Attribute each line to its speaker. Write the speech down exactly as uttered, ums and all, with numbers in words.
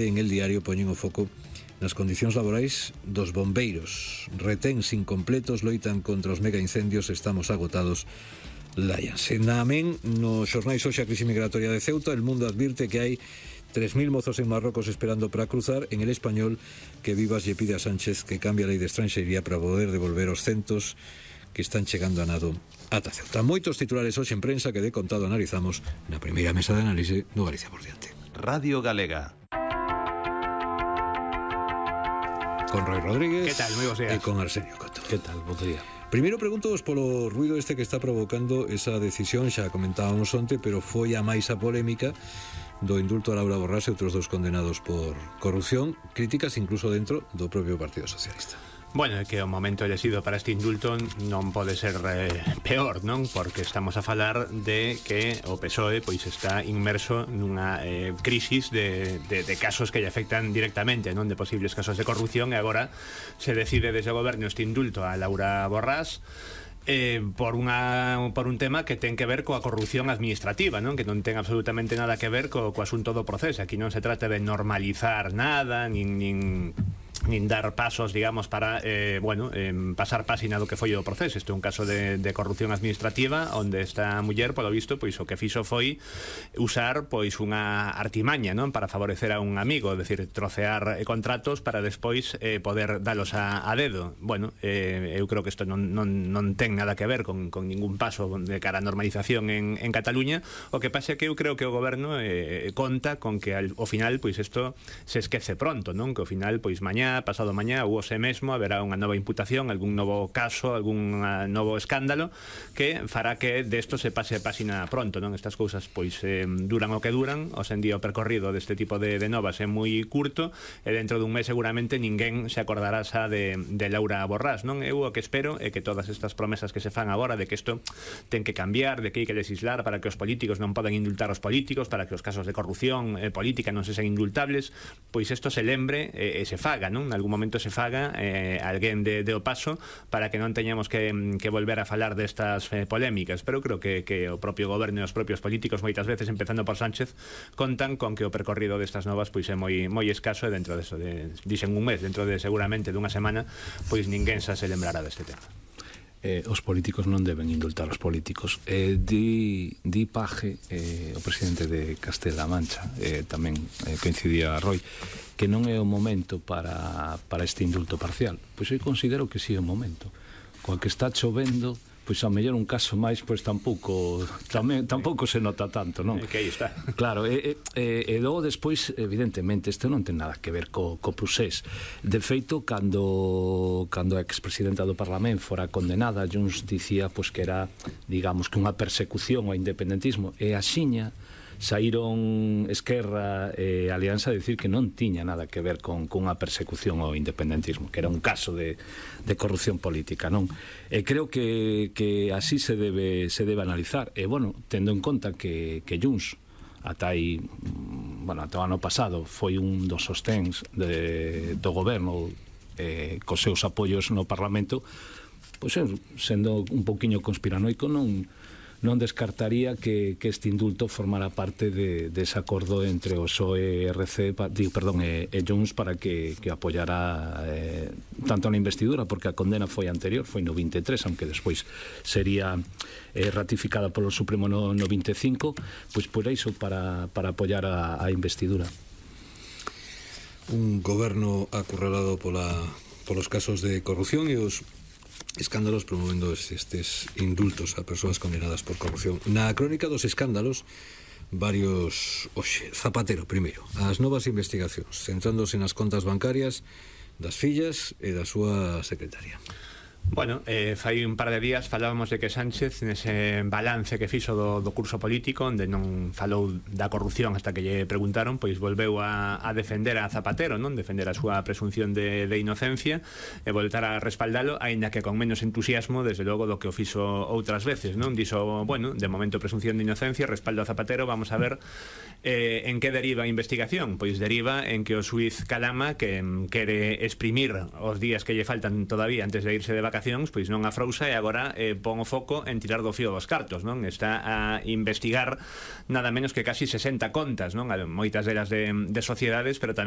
Speaker 1: En El Diario poñen o foco nas condicións laborais dos bombeiros. Reténs incompletos, loitan contra os mega incendios, estamos agotados, láianse. Na amén, nos xornais hoxe a crise migratoria de Ceuta, El Mundo advirte que hai tres mil mozos en Marrocos esperando para cruzar. En El Español, que Vivas lle pide a Sánchez que cambie a lei de estranxería para poder devolver os centos que están chegando a nado ata Ceuta. Moitos titulares hoxe en prensa que de contado analizamos na primeira mesa de análise do Galicia por diante.
Speaker 2: Radio Galega.
Speaker 1: Con Roy Rodríguez.
Speaker 3: Que tal? Moi bons días.
Speaker 1: E con Arsenio Coto.
Speaker 4: Que tal? Bo día.
Speaker 1: Primeiro pregunto polo ruido este que está provocando esa decisión, xa comentábamos onte, pero foi a máis a polémica do indulto a Laura Borrás e outros dous condenados por corrupción, críticas incluso dentro do propio Partido Socialista.
Speaker 3: Bueno, é que o momento elexido para este indulto non pode ser eh, peor, non? Porque estamos a falar de que o P S O E pois está inmerso nunha eh, crisis de, de, de casos que lle afectan directamente, non? De posibles casos de corrupción, e agora se decide desde o goberno este indulto a Laura Borrás Eh, por, unha, por un tema que ten que ver coa corrupción administrativa, non? Que non ten absolutamente nada que ver co, co asunto do proceso. Aquí non se trata de normalizar nada, nin, nin, nin dar pasos, digamos, para eh, bueno, eh, pasar páxina do que foi o proceso. Isto é un caso de, de corrupción administrativa onde esta muller, polo visto, pois o que fixo foi usar pois unha artimaña, non? Para favorecer a un amigo, é dicir, trocear eh, contratos para despois eh, poder dalos a, a dedo. Bueno, eh, eu creo que isto non, non, non ten nada que ver con, con ningún paso de cara a normalización en, en Cataluña. O que pasa é que eu creo que o goberno eh, conta con que al, ao final pois isto se esquece pronto, non? Que ao final pois mañá, pasado mañá ou hoxe mesmo haberá unha nova imputación, algún novo caso, algún uh, novo escándalo que fará que desto se pase a páxina pronto, non? Estas cousas pois eh, duran o que duran. Hoxe en día o percorrido deste tipo de, de novas é moi curto e dentro dun mes seguramente ninguén se acordará xa de, de Laura Borrás, non? Eu o que espero é que todas estas promesas que se fan agora de que isto ten que cambiar, de que hai que legislar para que os políticos non podan indultar os políticos, para que os casos de corrupción eh, política non se sean indultables, pois isto se lembre e eh, se faga, non? En algún momento se faga eh, alguén de, de o paso para que non teñamos que, que volver a falar destas eh, polémicas. Pero creo que, que o propio goberno e os propios políticos moitas veces, empezando por Sánchez, contan con que o percorrido destas novas pois é moi, moi escaso, e dentro deso, de, dixen un mes, dentro de seguramente dunha semana, pois ninguén xa se lembrará deste tema.
Speaker 4: Eh, os políticos non deben indultar os políticos. Eh, di, di Paje, eh, o presidente de Castela Mancha, eh, tamén eh, coincidía Roy, que non é o momento para, para este indulto parcial. Pois eu considero que sí é o momento. Coa que está chovendo, pois a mellor un caso máis, pois tampouco tamén, tampouco se nota tanto, non?
Speaker 3: É que aí está.
Speaker 4: Claro, e, e, e logo despois, evidentemente, isto non ten nada que ver co, co procés. De feito, cando cando a expresidenta do Parlamento fora condenada, Junts dicía pois que era, digamos, que unha persecución ao independentismo, e axiña saíron Esquerra e Alianza a decir que non tiña nada que ver con, con unha persecución ao independentismo, que era un caso de, de corrupción política, non? E creo que, que así se debe, se debe analizar. E, bueno, tendo en conta que, que Junts ata aí, bueno, ata o ano pasado foi un dos sosténs de, do goberno eh, cos seus apoios no Parlamento, pois sendo un pouquiño conspiranoico, non non descartaría que, que este indulto formara parte de, de ese acordo entre o P S O E e R C, pa, digo, perdón, e, e Junts para que, que apoyara eh, tanto na investidura, porque a condena foi anterior, foi no vinte e tres, aunque despois sería eh, ratificada polo Supremo no, no vinte e cinco, pois por iso, para, para apoyar a, a investidura.
Speaker 1: Un goberno acurralado pola, polos casos de corrupción e os escándalos, promovendo estes indultos a persoas condenadas por corrupción. Na crónica dos escándalos, varios... Oxe, Zapatero, primeiro. As novas investigacións, centrándose nas contas bancarias das fillas e da súa secretaria.
Speaker 3: Bueno, eh, fai un par de días falábamos de que Sánchez, nese balance que fixo do, do curso político, onde non falou da corrupción hasta que lle preguntaron, pois volveu a, a defender a Zapatero, non? Defender a súa presunción de, de inocencia e voltar a respaldalo, aínda que con menos entusiasmo, desde logo, do que o fixo outras veces, non? Dixo, bueno, de momento presunción de inocencia, respaldo a Zapatero, vamos a ver Eh, en que deriva a investigación? Pois deriva en que o xuiz Calama, que mm, quere exprimir os días que lle faltan todavía antes de irse de vacacións, pois non afrousa e agora eh, pon o foco en tirar do fío dos cartos, non? Está a investigar nada menos que casi sesenta contas, non? Moitas delas de, de sociedades, pero tamén